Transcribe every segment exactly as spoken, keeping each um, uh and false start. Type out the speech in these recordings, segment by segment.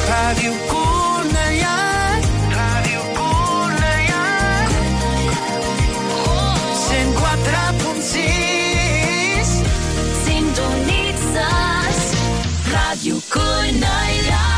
Ràdio Cornellà, Ràdio Cornellà, cent quatre punt sis. Sintonitzes Ràdio Cornellà.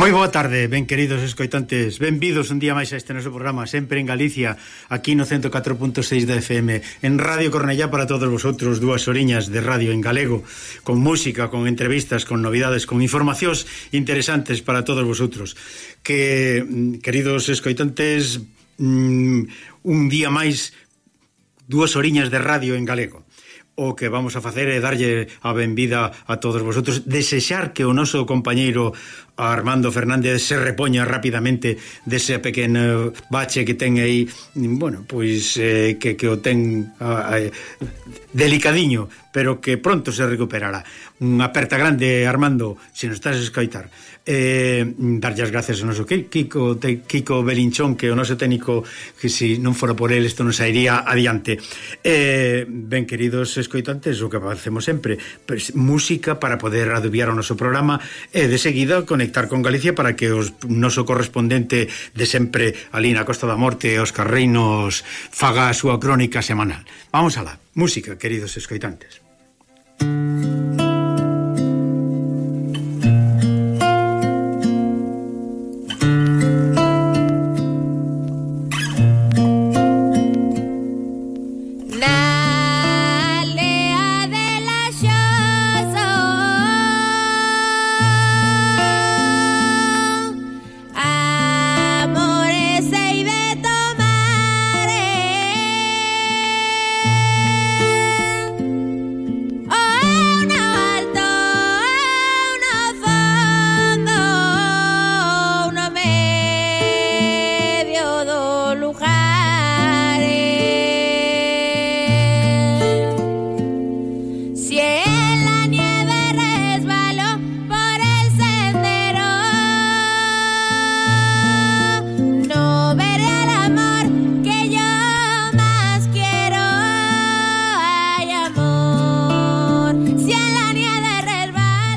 Moi boa tarde, ben queridos escoitantes, benvidos un día máis a este noso programa, sempre en Galicia, aquí no ciento catro punto seis da F M, en Radio Cornellá para todos vosotros, dúas horiñas de radio en galego, con música, con entrevistas, con novidades, con informacións interesantes para todos vosotros. Que, queridos escoitantes, un día máis, dúas horiñas de radio en galego. O que vamos a facer é darlle a benvida a todos vosotros, desexar que o noso compañeiro Armando Fernández se repoña rapidamente dese pequeno bache que ten aí, bueno, pois eh, que, que o ten eh, delicadiño, pero que pronto se recuperará. Unha aperta grande, Armando, se nos estás a escoitar. Eh, darlle as gracias ao noso Kiko, Kiko Belinchón, que o noso técnico, que se non fora por el isto non sairía adiante. Eh, ben, queridos escoitantes, o que facemos sempre, pues, música para poder adubiar o noso programa e de seguida conectar con Galicia para que o noso correspondente de sempre ali na Costa da Morte, Óscar Reinos, faga a súa crónica semanal. Vamos alá, música, queridos escoitantes.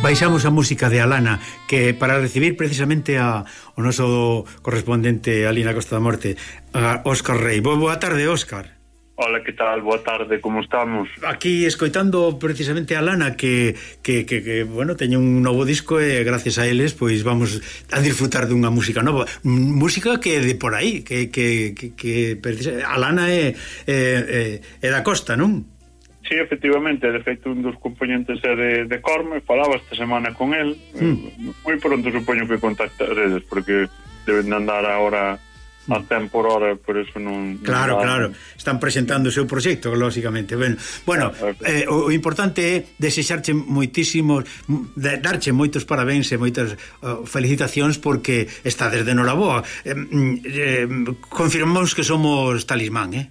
Baixamos a música de Alana, que para recibir precisamente a, o noso correspondente ali na Costa da Morte, a Óscar Rei. Boa tarde, Óscar. Hola, que tal? Boa tarde, como estamos? Aquí escoitando precisamente a Lana que, que, que, que bueno, teño un novo disco e gracias a eles pois vamos a disfrutar dunha música nova, música que é de por aí, que, que, que, que a Lana é, é, é, é da costa, non? Sí, efectivamente, de feito un dos componentes é de, de Corme, falaba esta semana con el, mm. moi pronto supoño que contactaredes, porque deben de andar agora a tempo por hora, por eso non... Claro, non claro, están presentando o seu proxecto, lógicamente. Ben, bueno, eh, o, o importante é desexarche moitísimos, de, darche moitos parabéns e moitas uh, felicitacións porque está desde Noraboa. Eh, eh, confirmamos que somos talismán, eh?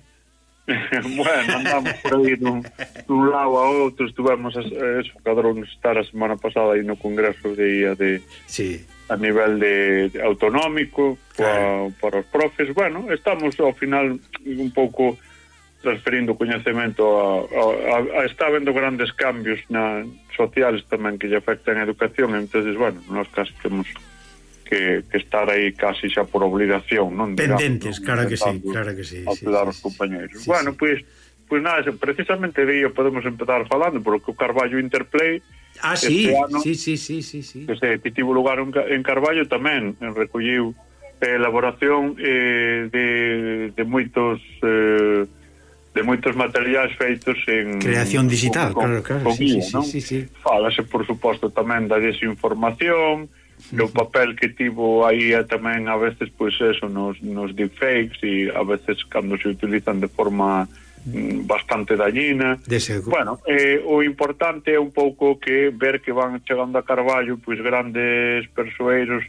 Bueno, andamos por aí dun, dun lado a outro, estuvemos eso, cadrón estar a semana pasada aí no congreso de I A de... Sí. A nivel de, de autonómico claro. para, para os profes, bueno, estamos ao final un pouco transferindo coñecemento a, a, a está habendo grandes cambios na sociales tamén que lle afectan a educación, entonces, bueno, nós casi temos que, que estar aí casi xa por obligación, non? Pendentes, digamos, claro que sí, claro que sí. A cuidar sí, os compañeros. Sí, bueno, sí. pois pues, pues nada, precisamente de ello podemos empezar falando, porque o Carballo Interplay Ah, sí, este ano, sí, sí, sí, sí, sí. Que, se, que tivo lugar en Carballo tamén recolliu eh, elaboración eh, de, de moitos eh, de moitos materiais feitos en creación digital, con, claro, claro, con sí, guía, sí, non? sí, sí, sí. Fálase, por suposto, tamén da desinformación, uh-huh. do papel que tivo aí tamén a veces, pois pues, eso, nos, nos deepfakes e a veces cando se utilizan de forma bastante dañina. Bueno, eh, o importante é un pouco que ver que van chegando a Carballo pois grandes persoeiros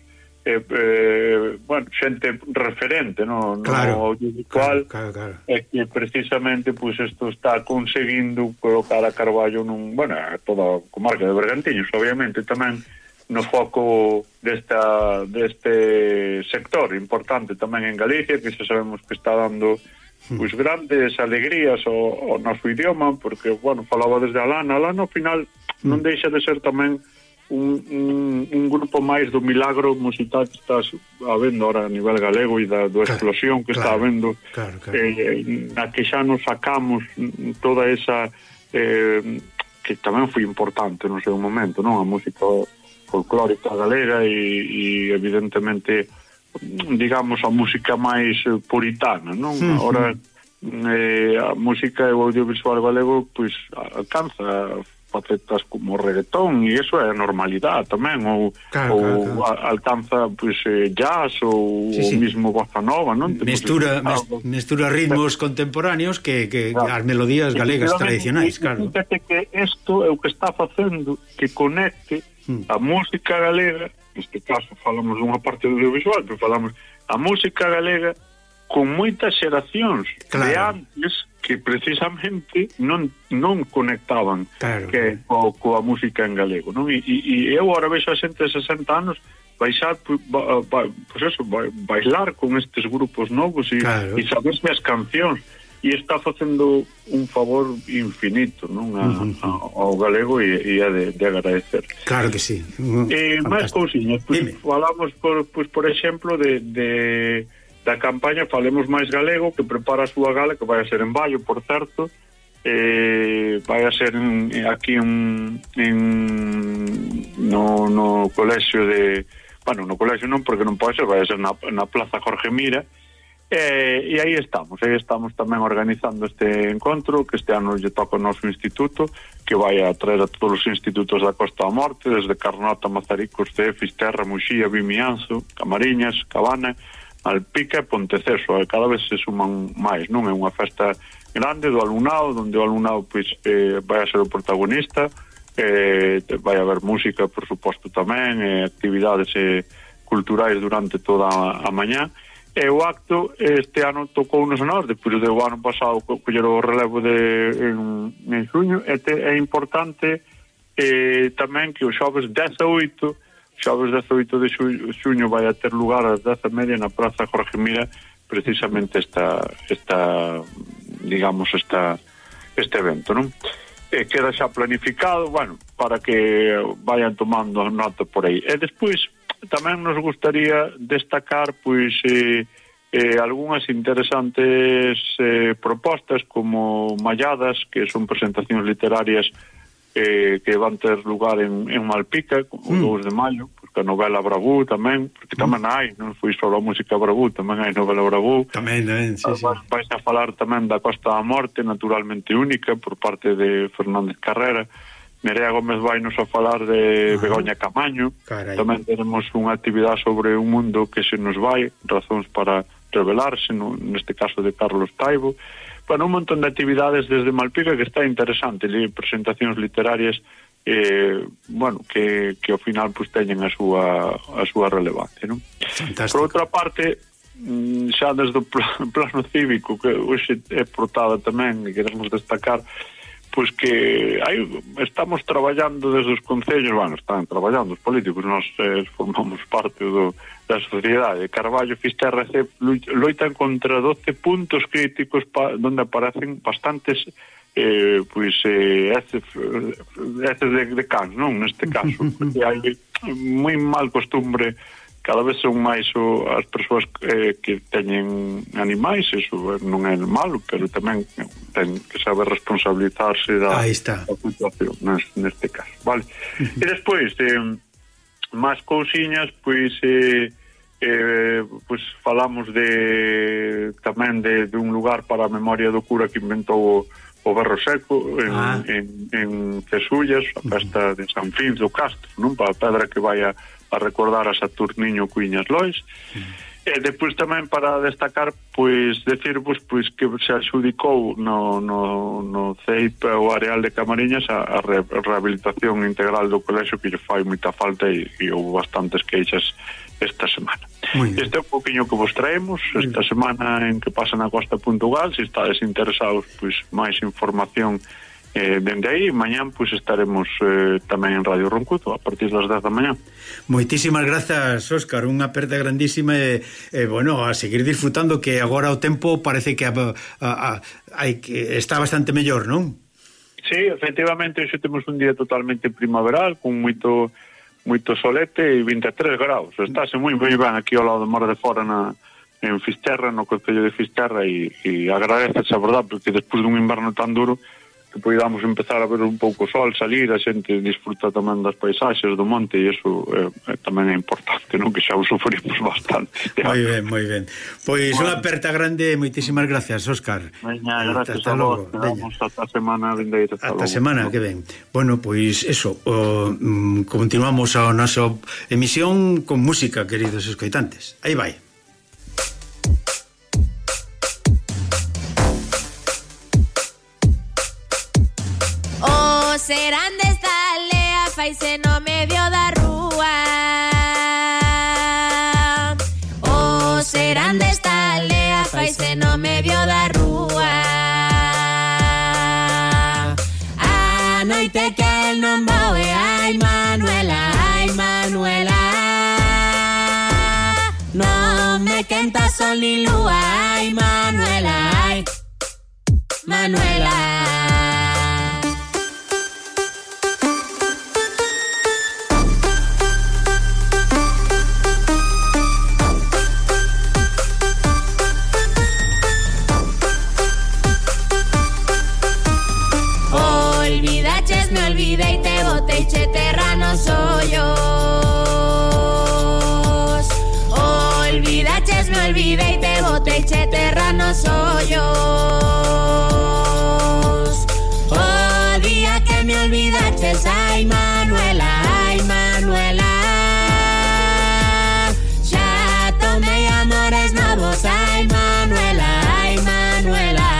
eh, eh, bueno, xente referente no, claro, no audiovisual claro, claro, claro. E que precisamente pois isto está conseguindo colocar a Carballo nun, bueno, a toda a comarca de Bergantiños, obviamente tamén no foco desta deste sector importante tamén en Galicia, que xa sabemos que está dando pois grandes alegrías ao, ao noso idioma, porque, bueno, falaba desde a Lana, a Lana ao final non deixa de ser tamén un, un, un grupo máis do milagro musical que está habendo ahora a nivel galego e da do explosión que claro, está habendo claro, claro. Eh, na que xa nos sacamos toda esa eh, que tamén foi importante no seu momento, non? A música folclórica galega e, e evidentemente digamos a música máis puritana, non? Uh-huh. Ahora eh, a música e o audiovisual galego pois alcanza facetas como reggaetón e iso é a normalidade tamén, ou, claro, ou claro, claro. alcanza pois eh, jazz ou sí, sí. o mismo bossa nova, non? Mestura, mes, mestura ritmos pero, contemporáneos que, que claro. as melodías galegas tradicionais, claro. Fíjate que isto é o que está facendo que conecte hmm. a música galega, neste caso falamos dunha parte do audiovisual, pero falamos a música galega con moitas xeracións claro. de antes que precisamente non non conectaban claro. que co, coa música en galego, non? E, e, e eu agora vexo a xente de sesenta anos baixar, ba, ba, pues eso, ba, bailar con estes grupos novos e, claro. e saberse as cancións e está facendo un favor infinito, non, a, uh-huh. a, ao galego e, e a de, de agradecer. Claro que sí. Eh, máis cousiñas, pues, falamos por, pues, por exemplo de, de da campaña Falemos Máis Galego, que prepara a súa gala, que vai a ser en Baio, por certo, eh, vai a ser en, aquí en, en no, no colexio de, bueno, no colexio non, porque non pode ser, vai a ser na, na Plaza Jorge Mira. Eh, e aí estamos, aí estamos tamén organizando este encontro, que este ano lle toca o noso instituto, que vai a traer a todos os institutos da Costa da Morte, desde Carnota, Mazaricos, Cee, Fisterra, Muxía, Vimianzo, Camariñas, Cabana, Alpica e Ponteceso, e cada vez se suman máis, non? É unha festa grande do alumnado, onde o alumnado pois, eh, vai a ser o protagonista, eh, vai haber música, por suposto, tamén, eh, actividades eh, culturais durante toda a, a mañá. E o acto este ano tocou nos a nós, depois do ano pasado coller o relevo de en, en xuño, e te, é importante eh, tamén que o xoves dezaoito, xoves dezaoito de xuño vai a ter lugar ás dez e media na Praza Jorge Mira, precisamente esta, esta digamos, esta este evento, non? E queda xa planificado, bueno, para que vayan tomando nota por aí. E despois tamén nos gustaría destacar pois eh, eh, algunhas interesantes eh, propostas como Malladas, que son presentacións literarias eh, que van ter lugar en, en Malpica o mm. dous de maio, porque a novela Bravú tamén, porque tamén hai, non foi só a música Bravú, tamén hai novela Bravú. Tamén, tamén, sí, sí. Vais a falar tamén da Costa da Morte, naturalmente única, por parte de Fernández Carrera. Nerea Gómez vai nos a falar de uh-huh. Begoña Camaño. Carai. Tamén tenemos unha actividade sobre un mundo que se nos vai, razóns para revelarse, no, neste caso de Carlos Taibo. Bueno, un montón de actividades desde Malpica que está interesante, li, presentacións literarias eh, bueno, que, que ao final pues, teñen a súa, a súa relevancia, non? Fantástico. Por outra parte, xa desde o plano cívico, que hoxe é portada tamén e queremos destacar, pois que hai, estamos traballando desde os concellos, bueno, están traballando os políticos, nós eh, formamos parte do, da sociedade. Carballo, Fisterra e Cee loitan contra doce puntos críticos pa, donde aparecen bastantes eh, pois eh, heces, heces de, de cans, non? Neste caso, porque hai moi mal costumbre, cada vez son máis o, as persoas eh, que teñen animais, eso non é malo, pero tamén ten que saber responsabilizarse da, da situación neste caso, vale? Uh-huh. E despois, eh, máis cousiñas, pois eh, eh, pois falamos de tamén de, de un lugar para a memoria do cura que inventou o, o berro seco en, ah. en, en Cesullas, a festa de San Fins do Castro, non? Para a pedra que vai a a recordar a Saturniño Cuiñas Lois. Mm. E depois tamén para destacar, pois, decirvos pois que se adxudicou no, no, no C I P o Areal de Camariñas a, a re, rehabilitación integral do colexio que lle fai moita falta e, e houve bastantes queixas esta semana. Este é un poquinho que vos traemos esta semana en que pasa na Costa Puntugal. Se estades interesados, pois, máis información Eh, dende aí, mañán pois estaremos eh, tamén en Radio Roncudo a partir das dez da mañá. Moitísimas grazas, Óscar, unha aperta grandísima e, eh, bueno, a seguir disfrutando, que agora o tempo parece que a, a, a, hai que está bastante mellor, non? Sí, efectivamente, hoxe temos un día totalmente primaveral, con moito moito solete e vinte e tres graus. Estáse moi ben aquí ao lado do Mar de Fora na en Fisterra, no concello de Fisterra, e, e agradeces a verdade, porque despois dun inverno tan duro que podamos empezar a ver un pouco sol, salir, a xente disfruta tamén das paisaxes do monte, e iso eh, tamén é importante, non? Que xa o sufrimos bastante. Moi ben, moi ben. Pois bueno, unha aperta grande, moitísimas gracias, Óscar. Veña, gracias a vos, vamos ata a semana vindeira. Ata a semana que ven. Bueno, pois eso, o, mm, continuamos a nosa emisión con música, queridos escoitantes. Aí vai. Serán desta aldea, faise no medio da rúa. Oh, serán desta aldea, faise no medio da rúa. A noite que el non voe, ai Manuela, ai Manuela. Non me quenta sol ni lúa, ai Manuela, ai Manuela. Y te boté y che terranos hoyos. Olvidaches, me olvidé y te boté y che terranos hoyos. Oh, día que me olvidaches, ay Manuela, ay Manuela. Ya tomé amores novos, ay Manuela, ay Manuela.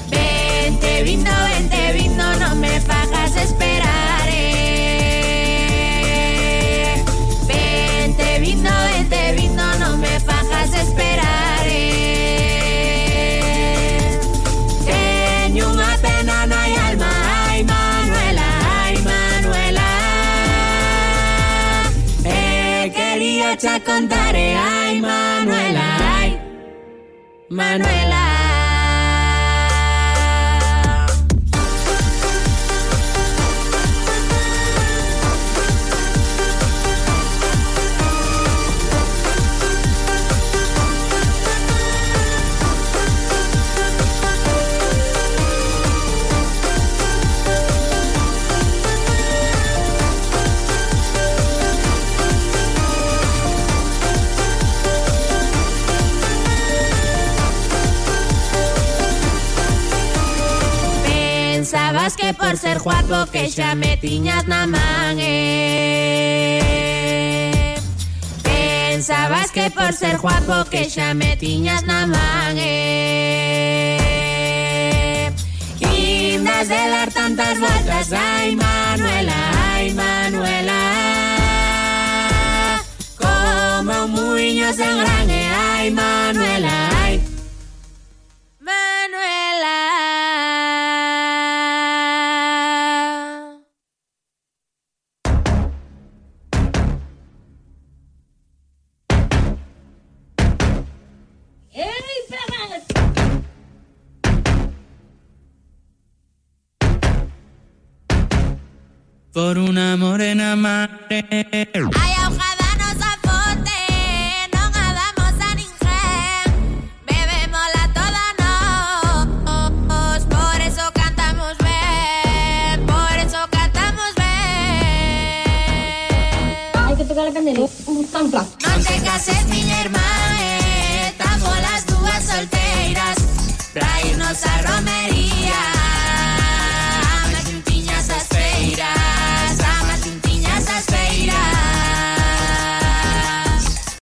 Vente, vino, vente, vino, no me fajas esperar, eh. Vente, vino, vente, vino, no me fajas esperar, eh. Teño unha pena na alma, ay Manuela, ay Manuela. Eh, quería cha contar, ay Manuela, ay Manuela. que por ser guapo que xa me tiñas na man, eh. Pensabas que por ser guapo que xa me tiñas na man, eh. Indas de dar tantas voltas, ai Manuela, ai Manuela, como un muiño sen grane, ai Manuela, ai Manuela. Por una morena madre. Ai, ahogada nos afonte, non a damos a ninguén. Bebémola toda nos, por eso cantamos ben, por eso cantamos ben. Hai que tocar a candela, tan plato. Non te cases, miña irmá, eh, estamos las dúas solteiras pra irnos a romería.